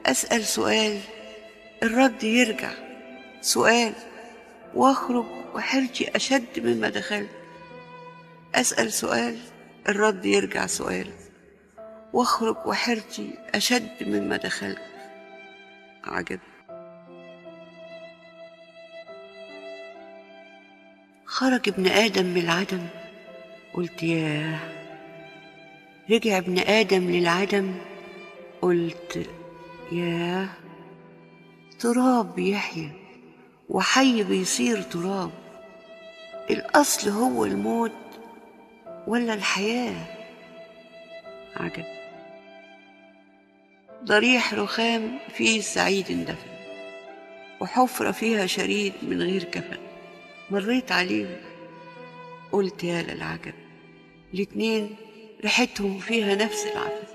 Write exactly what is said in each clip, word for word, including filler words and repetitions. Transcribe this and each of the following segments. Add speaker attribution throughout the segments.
Speaker 1: أسأل سؤال الرد يرجع سؤال، وأخرج وحيرتي أشد مما دخلت. أسأل سؤال الرد يرجع سؤال، وأخرج وحيرتي أشد مما دخلت. عجب. خرج ابن آدم من العدم، قلت ياه. رجع ابن آدم للعدم، قلت ياه. تراب بيحيا وحي بيصير تراب. الأصل هو الموت ولا الحياة؟ عجب. ضريح رخام فيه السعيد اندفن، وحفرة فيها شريد من غير كفن. مريت عليهم قلت يا للعجب، الاتنين ريحتهم فيها نفس العفن.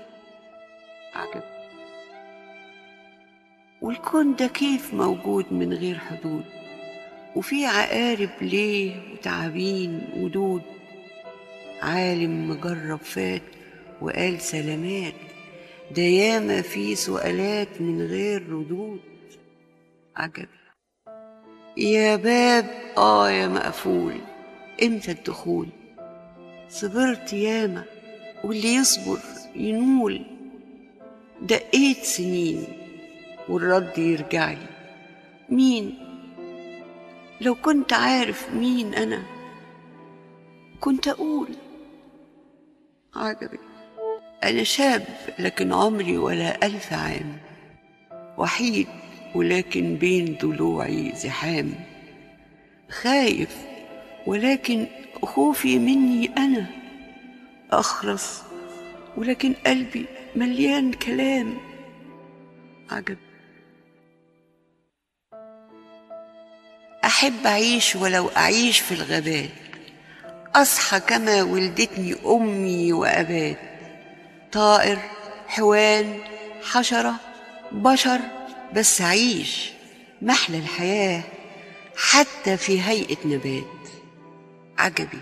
Speaker 1: عجب. والكون ده كيف موجود من غير حدود، وفي عقارب ليه وتعابين ودود. عالم مجرب فات وقال سلامات، ده ياما في سؤالات من غير ردود. عجب. يا باب آه يا مقفول، امتى الدخول؟ صبرت ياما واللي يصبر ينول. دقيت سنين والرد يرجعلي مين؟ لو كنت عارف مين أنا كنت أقول. عجبي. أنا شاب لكن عمري ولا ألف عام، وحيد ولكن بين ضلوعي زحام، خايف ولكن خوفي مني أنا، أخرس ولكن قلبي مليان كلام. عجب. أحب أعيش ولو أعيش في الغابات، أصحى كما ولدتني أمي وأبات، طائر حيوان حشرة بشر، بس أعيش محلى الحياة حتى في هيئة نبات. عجبي.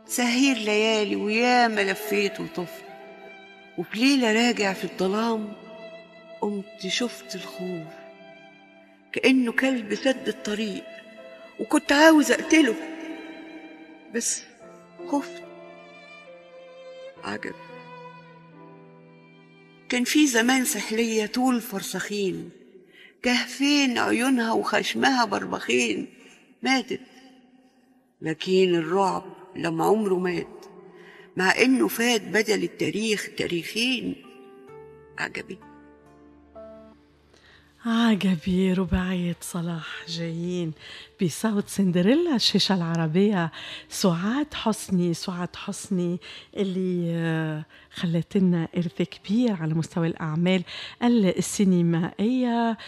Speaker 1: سهير ليالي وياما لفيت وطفت، وفي ليلة راجع في الظلام قمت شفت الخوف كأنه كلب سد الطريق، وكنت عاوز أقتله بس خفت. عجب. كان في زمان سحلية طول فرسخين، كهفين عيونها وخشمها بربخين، ماتت لكن الرعب لما عمره مات، مع إنه فات بدل التاريخ تاريخين. عجبي.
Speaker 2: عجبي. رباعية صلاح جايين بصوت سندريلا الشاشة العربية سعاد حسني. سعاد حسني اللي خلت لنا إرث كبير على مستوى الأعمال السينمائية.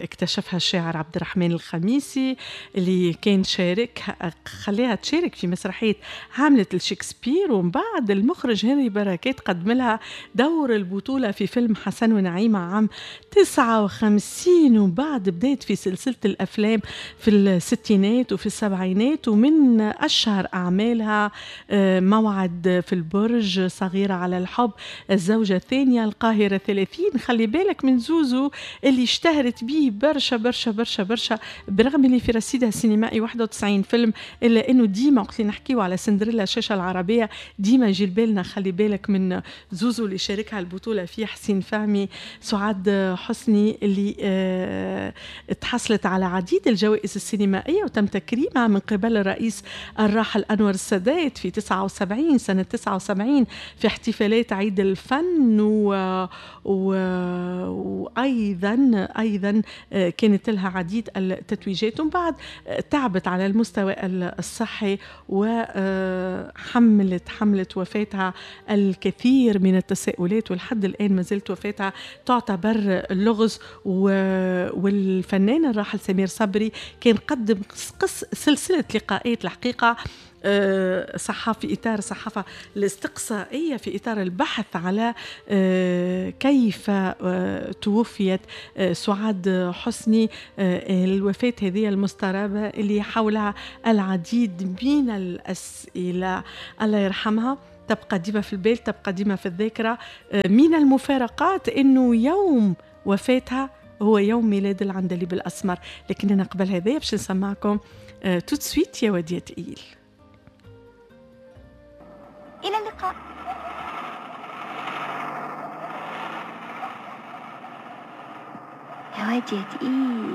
Speaker 2: اكتشفها الشاعر عبد الرحمن الخميسي اللي كان شارك، خليها تشارك في مسرحية هاملت لشكسبير، ومن بعد المخرج هنري بركات قدم لها دور البطولة في فيلم حسن ونعيمة عام تسعة وخمسين، وبعد بدأت في سلسلة الأفلام في الستينات وفي السبعينات، ومن أشهر أعمالها موعد في البرج، صغيرة على الحب، الزوجة الثانية، القاهرة ثلاثين. خلي بالك من زوزو اللي اشتهرت به برشا برشا برشا برشا، برغم اللي في رصيدها السينمائي واحد وتسعين فيلم، إلا أنه ديما وقت اللي نحكيو على سندريلا الشاشة العربية ديما يجي بالنا خلي بالك من زوزو اللي شاركها البطولة فيه حسين فهمي. سعاد حسني اللي اه تحصلت على عديد الجوائز السينمائية وتم تكريمها من قبل الرئيس الراحل أنور السادات في تسعة وسبعين سنة تسعة وسبعين في احتفالات عيد الفن، و... و... وأيضا أيضا كانت لها عديد التتويجات، ومن بعد تعبت على المستوى الصحي وحملت حملت وفاتها الكثير من التساؤلات، ولحد الآن ما زالت وفاتها تعتبر لغز. و... والفنان الراحل سمير صبري كان قدم قص سلسلة لقاءات الحقيقة صحافي إطار الصحافة الاستقصائية في إطار البحث على كيف توفيت سعاد حسني، الوفاة هذه المسترابة اللي حولها العديد من الأسئلة. الله يرحمها. تبقى ديما في البال، تبقى ديما في الذاكرة. من المفارقات أنه يوم وفاتها هو يوم ميلاد العندليب الأسمر. لكن أنا قبل هذا باش نسمعكم tout de suite يا واد يا تقيل.
Speaker 3: إلى اللقاء. يا واد يا تقيل.